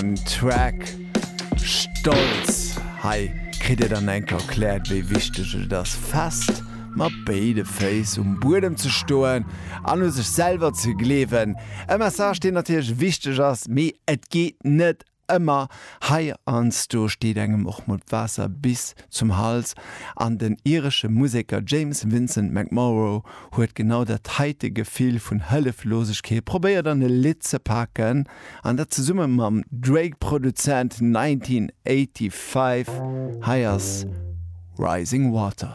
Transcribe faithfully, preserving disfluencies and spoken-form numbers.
sengem Track Stolz. Hei kritt Dir dann eng Kéier erkläert, wéi wichteg et ass, fest mat béide Féiss um Buedem ze stoen an u sech selwer ze gleewen. E Message, deen natierlech wichteg ass, mee et geet net ëmmer. Heiansdo steet engem och mol d'Waasser bis zum Hals an den iresche Museker James Vincent McMorrow huet genau dat heite Gefill vun Hëlleflosegkeet probéiert an e Lidd ze paken an dat zesumme mam Drake-Produzent nineteen eighty-five. Hei ass Rising Water.